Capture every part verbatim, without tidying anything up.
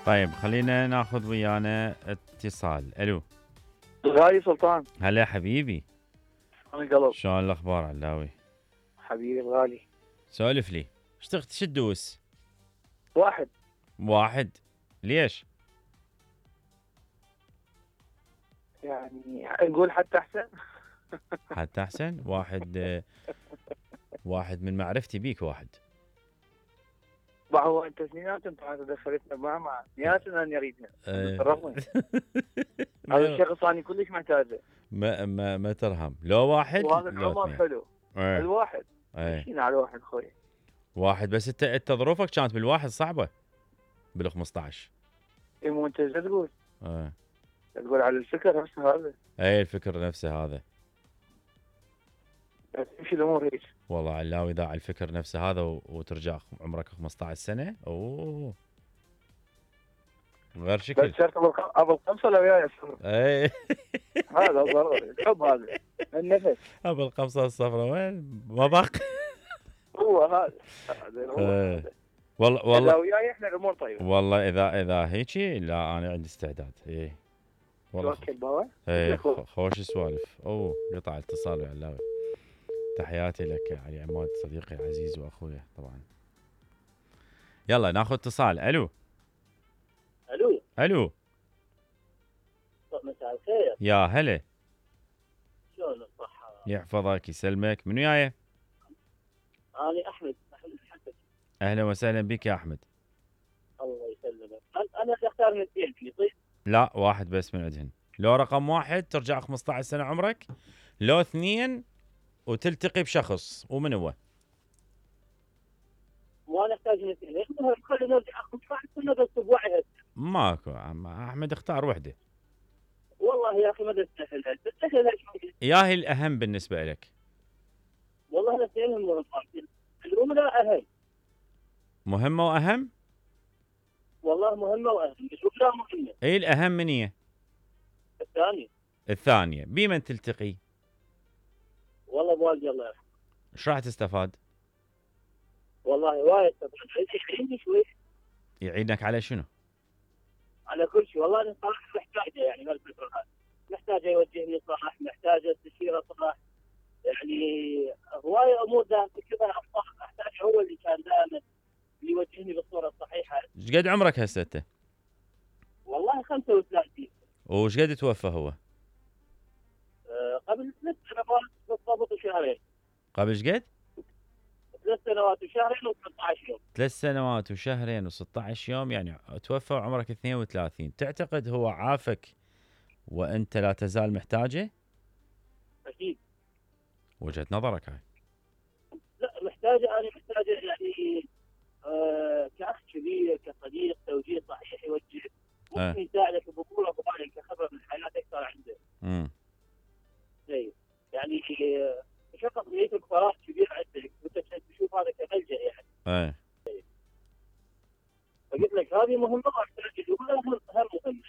طيب خلينا ناخذ ويانا اتصال. الو غالي سلطان. هلا حبيبي. انا قلب. شلون الاخبار علاوي؟ حبيبي الغالي. سولف لي. ايش تخت شو تدوس؟ واحد. واحد. ليش؟ يعني نقول حتى احسن. حتى احسن. واحد. واحد من معرفتي بيك واحد. ما هو انت سنينات انت دخلتنا مع مع سنينات انا اريدها. ترهمني. هذا الشخص انا كلش محتاجه. ما ما ما ترهم. لو واحد وهذا العمر حلو. ايه. الواحد. ايه. مشينا على واحد خوي. واحد بس انت انت ظروفك كانت بالواحد صعبه. بال خمسطعش. اي مو انت ايش تقول؟ ايه. تقول على الفكر نفسه هذا. اي الفكر نفسه هذا. بس تمشي الامور هيك. والله علاوي اذا على الفكر نفسه هذا وترجع عمرك خمسطعش سنه اوه غير شكل. بس صرت ابو القمصه لو وياي اي هذا ضروري الحب هذا النفس. ابو القمصه الصفراء وين ما باقي. هو هذا هذا هو. والله والله لو وياي احنا الامور طيبه. والله اذا اذا هيجي لا انا عندي استعداد. اي والله توكل بابا. اي خوش سوالف. اوه قطع اتصال يا علاوي. تحياتي لك يا علي عماد صديقي العزيز واخويا طبعا. يلا ناخذ اتصال. الو الو الو مساء الخير. يا هلا. شلون الصحه؟ يحفظك يسلمك. من وياي؟ انا احمد احمد الحسن. اهلا وسهلا بك يا احمد. الله يسلمك. انا اختار من اثنين طيب؟ لا واحد بس من عندهن. لو رقم واحد ترجع خمسطعش سنه عمرك، لو اثنين وتلتقي بشخص. ومن هو؟ وانا احتاج من اثنين. ليش خلينا نرجع خمسطعش سنه بس بوعي. ماكو عم احمد اختار وحده. والله يا اخي ما تستاهل. تستاهل ايش؟ يا هي الاهم بالنسبه لك؟ والله الاثنين مهمين. الأولى أهم. مهمة وأهم؟ والله مهمة وأهم. الأولى مهمة. اي الأهم من هي؟ الثانية. الثانية. بمن تلتقي؟ والله بوالدي الله يرحمه. ايش راح تستفاد؟ والله وايد استفاد. يعيني شوي. يعينك على شنو؟ على كل شيء. والله أنا صراحة محتاجه يعني هالفترة هذه. محتاجه يوجهني صح، محتاجه استشيره صح. يعني هواية أمور داخل كذا أحتاج هو اللي كان دائما يوجهني بالصورة الصحيحة. ايش قد عمرك هسه انت؟ والله خمسة وثلاثين. وش قد توفى هو؟ أه قبل ثلاث سنوات بالضبط وشهرين. قبل ايش قد؟ ثلاث سنوات وشهرين وثلاثة عشر يوم. ثلاث سنوات وشهرين وستة عشر يوم يعني توفى وعمرك اثنين وثلاثين. تعتقد هو عافك وانت لا تزال محتاجه؟ أكيد. وجهة نظرك هاي. لا محتاجة. أنا محتاجة يعني آه كأخ كبير كصديق توجيه صحيح يوجه. ممكن يساعدك بقوة وبالك كخبرة من الحياة أكثر عنده. امم. زين. يعني شخص يترك فراغ كبير عندك وأنت تشوف هذا كملجأ يعني. ايه. فقلت لك هذه مهمة واحتاج الأولى هم مهمة.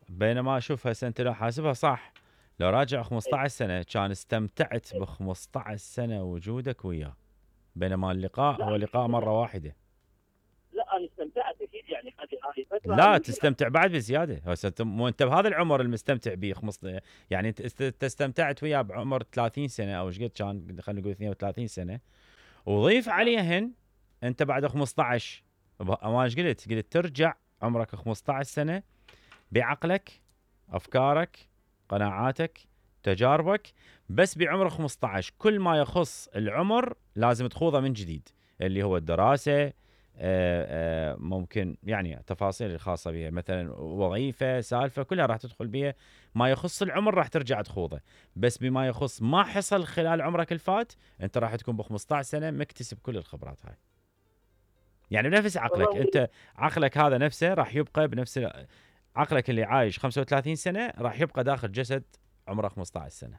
بينما اشوف هسه انت لو حاسبها صح، لو راجع خمسطعش سنة كان استمتعت ب خمسطعش سنة وجودك وياه، بينما اللقاء هو لقاء مرة واحدة. لا انا استمتعت اكيد يعني هذه فترة. لا تستمتع بعد بزيادة. هسه انت مو انت بهذا العمر المستمتع به خمس يعني انت استمتعت وياه بعمر ثلاثين سنة او ايش قد كان، خلينا نقول اثنين وثلاثين سنة، وضيف عليهن انت بعد خمسطعش. ما ايش قلت؟ قلت ترجع عمرك خمسطعش سنة بعقلك، افكارك، قناعاتك، تجاربك، بس بعمر خمسطعش كل ما يخص العمر لازم تخوضه من جديد، اللي هو الدراسة، آآ آآ ممكن يعني تفاصيل الخاصة بها مثلا وظيفة سالفة كلها راح تدخل بها. ما يخص العمر راح ترجع تخوضه، بس بما يخص ما حصل خلال عمرك الفات انت راح تكون ب خمسطعش سنة مكتسب كل الخبرات هاي. يعني بنفس عقلك انت، عقلك هذا نفسه راح يبقى بنفس عقلك اللي عايش خمسة وثلاثين سنة راح يبقى داخل جسد عمره خمسطعش سنة.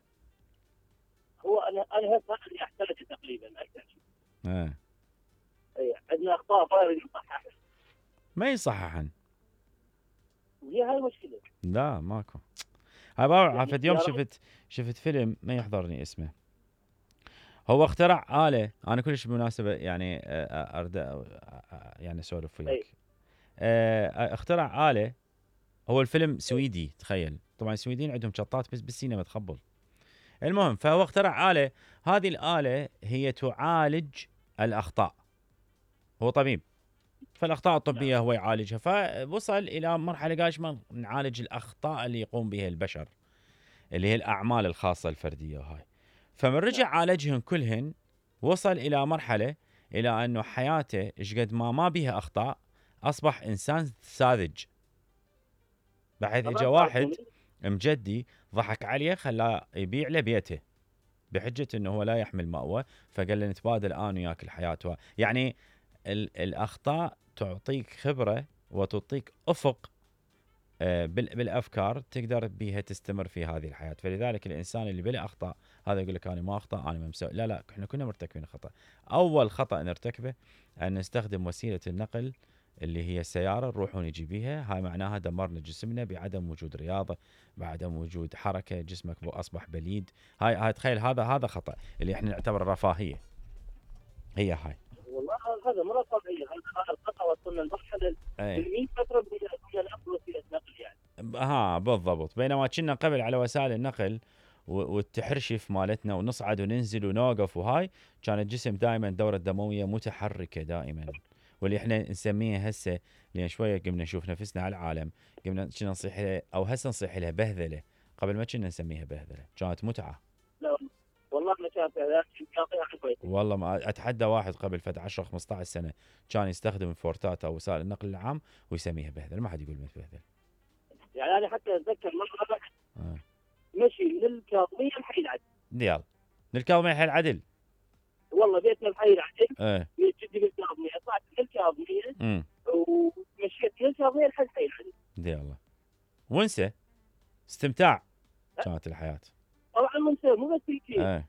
هو انا انا هذا اللي احتاجه تقريبا اكثر شيء. اه. اي عندنا اخطاء فارغ يصحح. ما يصححن. هي هاي المشكلة. لا ماكو. هاي بابا يعني عفت يوم شفت شفت فيلم ما يحضرني اسمه. هو اخترع آلة، انا كلش بالمناسبة يعني ارد يعني اسولف وياك. آه اخترع آلة. هو الفيلم سويدي تخيل، طبعا السويديين عندهم شطات بس بالسينما تخبل. المهم فهو اخترع آلة، هذه الآلة هي تعالج الأخطاء. هو طبيب، فالأخطاء الطبية هو يعالجها، فوصل إلى مرحلة قال ايش ما نعالج الأخطاء اللي يقوم بها البشر، اللي هي الأعمال الخاصة الفردية وهاي. فمن رجع عالجهن كلهن وصل إلى مرحلة إلى أنه حياته إيش قد ما ما بيها أخطاء أصبح إنسان ساذج، بحيث إجا واحد مجدي ضحك عليه خلاه يبيع له بيته بحجة أنه هو لا يحمل مأوى، فقال له نتبادل أنا وياك الحياة. يعني الأخطاء تعطيك خبرة وتعطيك أفق بالأفكار تقدر بها تستمر في هذه الحياة. فلذلك الإنسان اللي بلا أخطاء هذا يقول لك أنا ما أخطأ، أنا ما مسوي. لا لا، إحنا كنا مرتكبين خطأ. أول خطأ نرتكبه أن نستخدم وسيلة النقل اللي هي السيارة نروح ونجي بيها، هاي معناها دمرنا جسمنا بعدم وجود رياضة، بعدم وجود حركة، جسمك أصبح بليد. هاي هاي تخيل، هذا هذا خطأ اللي إحنا نعتبره رفاهية. هي هاي والله هذا مرة طبيعي، هذا الخطأ وصلنا لمرحلة المئة فترة بدنا نأخذ وسيلة نقل يعني. ها بالضبط. بينما كنا قبل على وسائل النقل والتحرشف مالتنا ونصعد وننزل ونوقف وهاي، كان الجسم دائما الدورة الدموية متحركة دائما، واللي احنا نسميها هسه لان شويه قمنا نشوف نفسنا على العالم، قمنا كنا نصيح لها او هسه نصيح لها بهذله، قبل ما كنا نسميها بهذله، كانت متعه. لا والله ما كانت هذا، والله ما اتحدى واحد قبل فتره عشرة خمسة عشر سنه كان يستخدم الفورتات او وسائل النقل العام ويسميها بهذله، ما حد يقول بهذله. يعني انا حتى اتذكر مره آه. مشي من الكاظميه لحي العدل. يلا من الكاظميه لحي العدل. والله بيتنا بحي العدل. ايه بيت جدي بالكاظميه، طلعت من الكاظميه ومشيت من الكاظميه لحد حي العدل. يلا ونسى استمتاع كانت الحياه. طبعا منسى مو بس هيك. ايه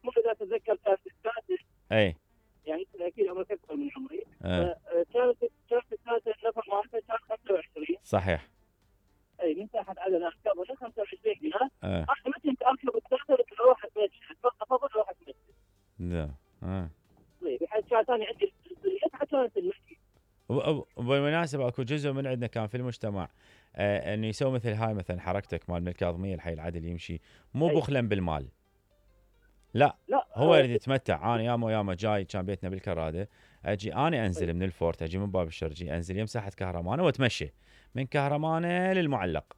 تمر اذا تتذكر كانت السادسه. ايه يعني اكيد عمرك اكثر من عمري. ايه كانت كانت السادسه النفر مالتها كان خمسة وعشرين. صحيح. اي من تحت عدن اركب ولا خمسة وعشرين دينار. ايه انا متى اركب السادسه اروح اتمشى، افضل اروح اتمشى. لا اه طيب بحيث كان ثاني عندي حتى كانت المشي. وبالمناسبة اكو جزء من عندنا كان في المجتمع آه انه يسوي مثل هاي مثلا حركتك مال من الكاظميه الحي العدل يمشي مو بخلا بالمال، لا, لا هو يريد يتمتع. انا ياما ياما جاي كان بيتنا بالكراده، اجي انا انزل أي. من الفورت، اجي من باب الشرجي انزل يمساحه كهرمانه واتمشى من كهرمانه للمعلق.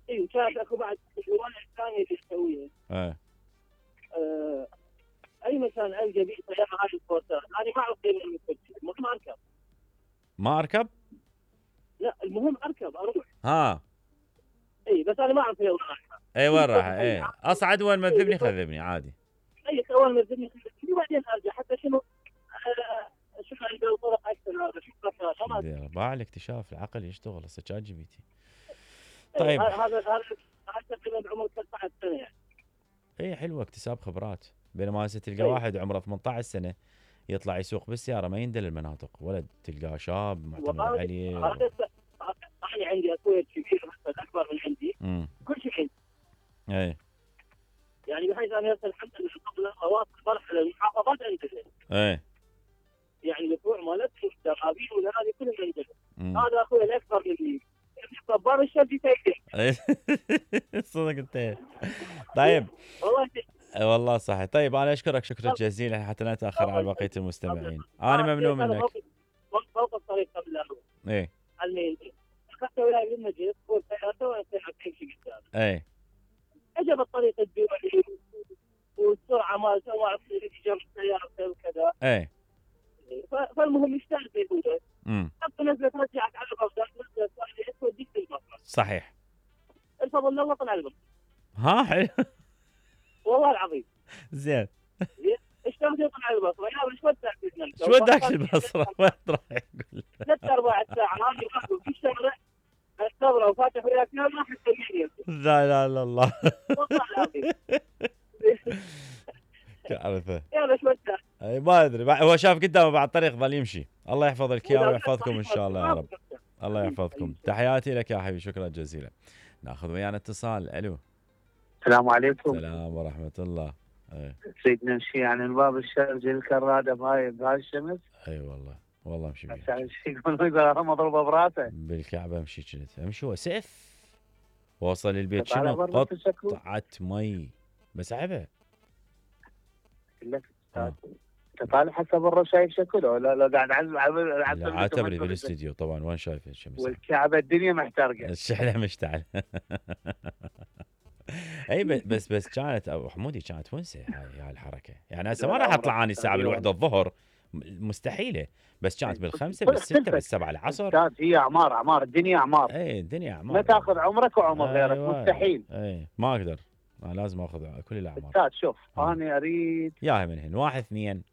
اي كانت اكو بعد الجوانب الثانيه اللي تسويها. اه آه، اي مكان القى بيه سياره هاي الفورتات انا ما اعرف قيمه المكتب، المهم اركب. ما اركب؟ لا المهم اركب اروح. ها اي بس انا ما اعرف وين رايحه. اي وين رايحه؟ اي اصعد وين ما تذبني خذبني عادي. اي اول ما تذبني خذبني وبعدين ارجع حتى شنو آه شوف عندي طرق اكثر هذا شوف مكان باع الاكتشاف العقل يشتغل هسه شات جي بي تي. طيب هذا هذا هذا تقريبا عمره ثلاثة عشر سنه يعني. اي حلوه اكتساب خبرات. بينما هسه تلقى أي. واحد عمره ثمانية عشر سنه يطلع يسوق بالسياره ما يندل المناطق، ولا تلقاه شاب معتمد عليه. هذا انا عندي اخوي كبير اكبر من عندي. امم كل شيء عندي. اي يعني بحيث انا هسه الحمد لله قبل اواصل مرحله المحافظات عندنا. اي يعني الفروع مالتهم الدرابين ولا هذه كلهم عندنا. هذا اخوي الاكبر مني باب الشرجي تاكل. صدق انت. طيب والله والله صحيح. طيب انا اشكرك شكرا جزيلا حتى لا نتاخر على بقيه المستمعين. انا ممنون منك. فوق الطريق قبل لا اروح. ايه على اخذت ولاي المجلس وسيارته وانا امشي قدام. ايه اجى بالطريق الدولي والسرعه ما ما اعرف جنب السياره وكذا. ايه فالمهم يشتغل في الوجه. امم حتى نزلت رجعت على الغرفه نزلت توديك المصرف. صحيح. الفضل الله طلع البصر. ها حلو. والله العظيم. زين. اشتغل طلع البصره يا ايش وداك ايش وداك البصره؟ وين راح يقول؟ ثلاث اربع ساعات هذه ياخذ في الشغله الصبره وفاتح وياك ما حتى يجي. لا لا لا الله. والله العظيم. كارثه. يا ايش وداك؟ اي ما ادري، هو شاف قدامه بعد الطريق ظل يمشي. الله يحفظ لك اياه ويحفظكم ان شاء الله يا رب. الله يحفظكم. تحياتي لك يا حبيبي، شكرا جزيلا. ناخذ ويانا اتصال. الو. السلام عليكم. السلام ورحمه الله. ايه سيدنا نمشي يعني من باب الشرجي الكراده بهاي بهاي الشمس. اي والله والله امشي بيها عشان شي يقول يقول مضروبه براسه. بالكعبه امشي كنت امشي وسيف. وصل البيت طالع شنو برا تشكله قطعه مي بس عبه. لك آه. استاذ انت طالع حسب الرو شايف شكله ولا لا قاعد على على لا عاتبري بالاستديو طبعا وين شايف الشمس والكعبه الدنيا محترقه الشحنه مشتعل. اي ب- بس بس كانت ابو حمودي كانت ونسه هاي هاي الحركه يعني هسه ما راح اطلع اني الساعه بالوحده الظهر م- مستحيله بس كانت بالخمسه بالسته بالسبعه العصر. استاذ هي اعمار اعمار الدنيا اعمار. اي الدنيا اعمار ما تاخذ عمرك وعمر غيرك أيوة. مستحيل. اي ما اقدر انا لازم اخذ كل الاعمار. استاذ شوف آه. انا اريد ياها من هنا واحد اثنين.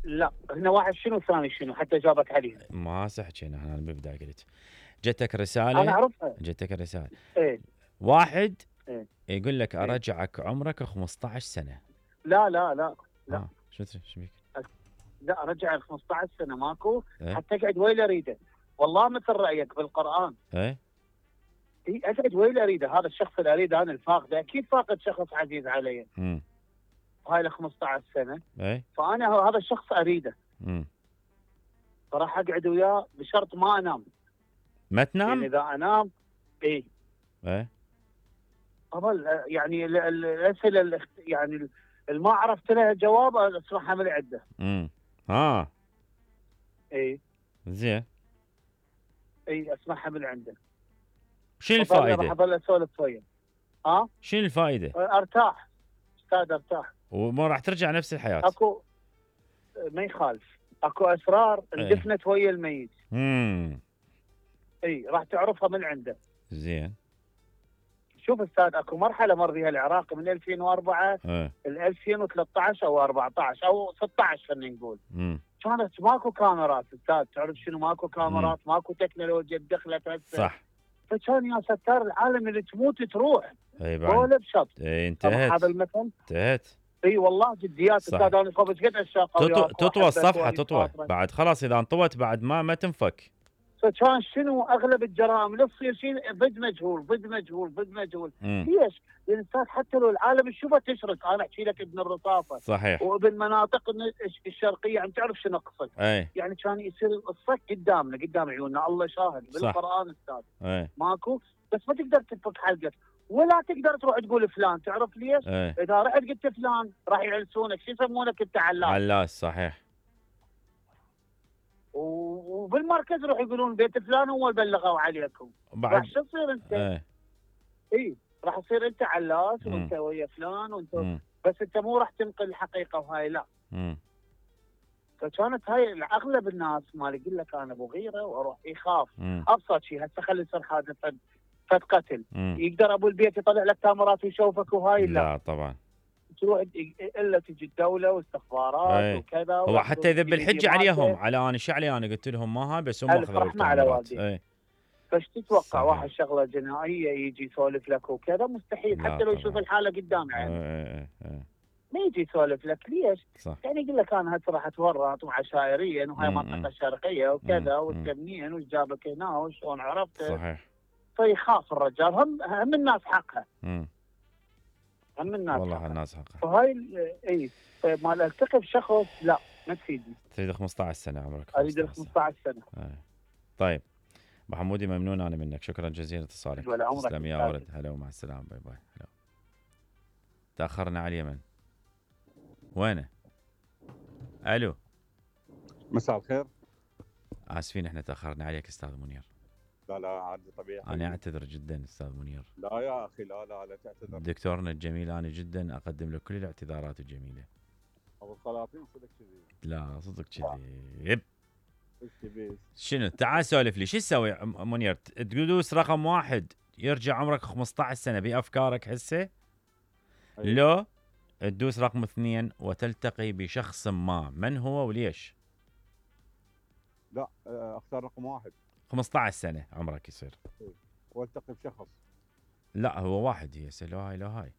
لا هنا واحد شنو ثاني شنو حتى جابت عليه. ما هسه حكينا احنا بالبدايه قلت جتك رساله. انا اعرفها. جتك الرساله. ايه واحد إيه. يقول لك إيه. ارجعك عمرك خمسة عشر سنه. لا لا لا لا. آه. شو شو بيك؟ لا ارجع ال خمسة عشر سنه ماكو. إيه؟ حتى اقعد وين اريده. والله مثل رايك بالقران. ايه اي اقعد وين اريده. هذا الشخص اللي اريده انا الفاقده اكيد فاقد شخص عزيز علي. امم هاي ال خمسة عشر سنه. ايه فانا هذا الشخص اريده. امم فراح اقعد وياه بشرط ما انام. ما يعني تنام؟ اذا انام اي ايه اظل يعني ال- ال- الاسئله الاخت- يعني اللي ما عرفت لها جواب اسمعها من عنده. امم ها اي زين اي اسمعها من عنده. شنو أظل- راح الفائده؟ اظل اسولف وياه. ها شنو الفائده؟ ارتاح استاذ ارتاح. وما راح ترجع نفس الحياه. اكو ما يخالف اكو اسرار إيه. اندفنت ويا الميت. امم اي راح تعرفها من عنده. زين شوف استاذ اكو مرحله مر بها العراق من ألفين وأربعة ايه ل ألفين وثلاثة عشر او أربعة عشر او ستة عشر خلينا نقول. امم كانت ماكو كاميرات استاذ تعرف شنو ماكو كاميرات ماكو تكنولوجيا دخلت هسه. صح. فكان يا ستار العالم اللي تموت تروح اي بعد ولا بشط. اي طبعا انتهت هذا المثل انتهت. اي والله جديات صح. استاذ انا قبل قد الشاقه تطو... تطوى الصفحه تطوى بعد خلاص اذا انطوت بعد ما ما تنفك. فكان شنو اغلب الجرائم اللي تصير شيء ضد مجهول ضد مجهول ضد مجهول. مم. ليش؟ لان استاذ حتى لو العالم تشوفه تشرك انا احكي لك ابن الرصافه صحيح. وابن مناطق الشرقيه عم تعرف شنو اقصد. اي يعني كان يصير الصك قدامنا قدام عيوننا الله شاهد بالقران استاذ. اي ماكو بس ما تقدر تنفك حلقك ولا تقدر تروح تقول فلان تعرف ليش؟ اي اذا رحت قلت فلان راح يعلسونك شو يسمونك انت علاس. علاس صحيح. و- وبالمركز يروح يقولون بيت فلان هو اللي بلغوا عليكم. بعد راح شو تصير انت؟ اي اي راح تصير انت علاس مم. وانت ويا فلان وانت مم. بس انت مو راح تنقل الحقيقه وهاي لا. مم. فكانت هاي اغلب الناس ما يقول لك انا ابو غيره واروح يخاف. مم. ابسط شيء هسه خلي يصير حادث فد فد قتل مم. يقدر ابو البيت يطلع لك كاميرات ويشوفك وهاي لا. لا طبعا. تروح الا تجي الدوله واستخبارات أي. وكذا. هو حتى يذب الحجه عليهم على انا ايش علي انا قلت لهم ما هاي بس هم ألف اخذوا رحمة على الكاميرات. والديك. اي فايش تتوقع صحيح. واحد شغله جنائيه يجي يسولف لك وكذا مستحيل لا حتى لو طبعاً. يشوف الحاله قدامه يعني اي اي اي ما يجي يسولف لك ليش؟ صح. يعني يقول لك انا هسه راح اتورط وعشائريا وهاي مم، منطقه مم. شرقيه وكذا مم، وانت مم. منين وش جابك هنا وشلون عرفت. صحيح. فيخاف الرجال هم هم الناس حقها مم. هم الناس والله حقها. الناس حقها. فهاي ال- اي فما التقي بشخص لا ما تفيدني. تريد خمسة عشر سنه عمرك. اريد ال خمسة عشر خمسة عشر سنه. سنة. اي طيب ابو حمودي ممنون انا منك شكرا جزيلا اتصالك. ولا عمرك تسلم يا أستاذ. ولد هلا ومع السلامه باي باي. هلا. تاخرنا على اليمن. وينه؟ الو مساء الخير. اسفين احنا تاخرنا عليك استاذ منير. لا لا عادي طبيعي. انا اعتذر جدا استاذ منير. لا يا اخي لا لا لا تعتذر. دكتورنا الجميل انا جدا اقدم له كل الاعتذارات الجميله. ابو السلاطين صدق كذي. لا صدق كذي. ايش تبي؟ شنو تعال سولف لي شو تسوي م- منير ت- تدوس رقم واحد يرجع عمرك خمسة عشر سنه بافكارك هسه. أيوة. لو تدوس رقم اثنين وتلتقي بشخص ما من هو وليش. لا آه، اختار رقم واحد خمسة عشر سنه عمرك يصير. والتقي بشخص. لا هو واحد هي هسه لو هاي لو هاي.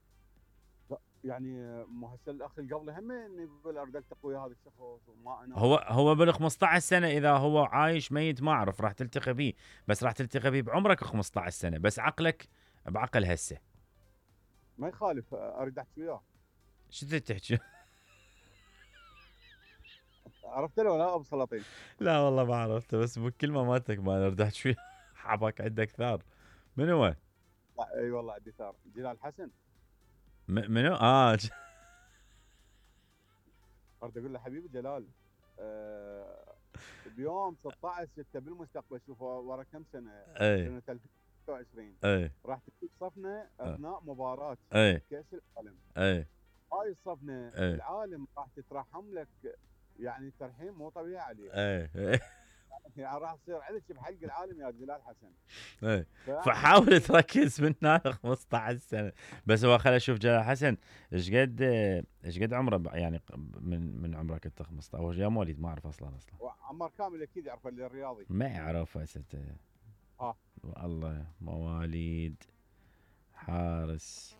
يعني آه، مو هسه الاخ اللي قبله هم يقول اريد التقي ويا هذا الشخص وما انا. هو هو بال خمسة عشر سنه اذا هو عايش ميت ما اعرف راح تلتقي به بس راح تلتقي به بعمرك خمسة عشر سنه بس عقلك بعقل هسه. ما يخالف آه، اريد احكي وياه. شو تريد تحكي؟ عرفت له ولا ابو سلاطين؟ لا والله ما عرفته، بس بالكلمه مالتك ما ردحت شوي. حبك عندك ثار. من هو؟ لا اي والله عندي ثار. جلال حسن. م- منو؟ اه ج- اريد اقول له حبيبي جلال، آه بيوم ستة عشر ستة بالمستقبل، شوف ورا كم سنه، اي سنه ألفين وستة وعشرين اي راح تكون صفنه اثناء مباراه اي كاس العالم. اي هاي الصفنه إيه. العالم راح تترحم لك، يعني ترحيم مو طبيعي عليك. اي اي يعني راح تصير عندك بحلق العالم يا جلال حسن. اي ف- فحاول تركز من هنا خمسة عشر سنه. بس هو خلينا نشوف جلال حسن ايش قد ايش قد عمره ب- يعني من من عمرك انت خمسة عشر او يا مواليد ما اعرف اصلا اصلا عمار كامل اكيد يعرف اللي الرياضي. ما يعرف هسه. ها. والله مواليد حارس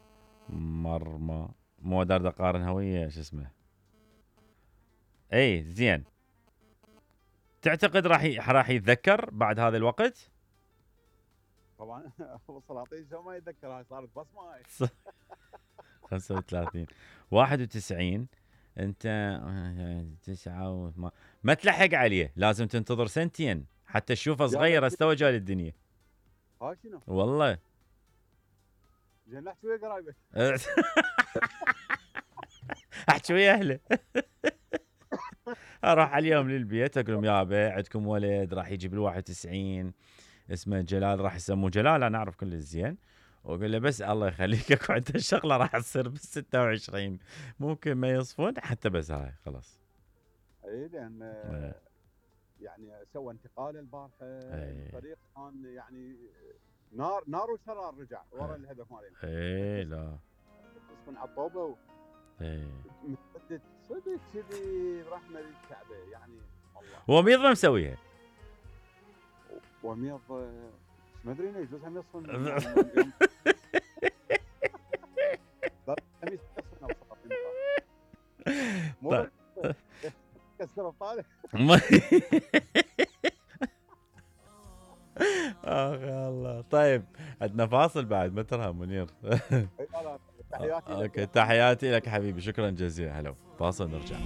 مرمى، مو دار اقارن هويه شو اسمه. اي زين. تعتقد راح ي- راح يتذكر بعد هذا الوقت؟ طبعا ابو سلاطين شو ما يتذكر، هاي صارت بصمه هاي. خمسة وثلاثين واحد وتسعين انت تسعة وما ما تلحق عليه، لازم تنتظر سنتين حتى تشوفه صغير استوى جاي للدنيا. ها شنو؟ والله زين احكي ويا قرايبك. احكي ويا اهله. اروح عليهم للبيت اقول لهم يابا عندكم ولد راح يجي بال واحد وتسعين اسمه جلال، راح يسموه جلال، انا اعرف كل الزين، واقول له بس الله يخليك اكو عنده الشغله راح تصير بال ستة وعشرين ممكن ما يصفون حتى، بس هاي خلاص. اي لان إيه. يعني سوى انتقال البارحه، إيه. الفريق كان يعني نار نار وشرار، رجع ورا الهدف مالين. اي لا من عطوبه اي متسدد صدق كذي برحمه الكعبه يعني والله. وميض ما مسويها. وميض ما ادري انه يجوز هم يصفن. خميس يصفن ابو سلاطين. مو كسر الطالع. اخ يا الله. طيب عندنا فاصل بعد، ما ترى منير. تحياتي لك. اوكي تحياتي لك حبيبي، شكرا جزيلا. هلا فاصل نرجع.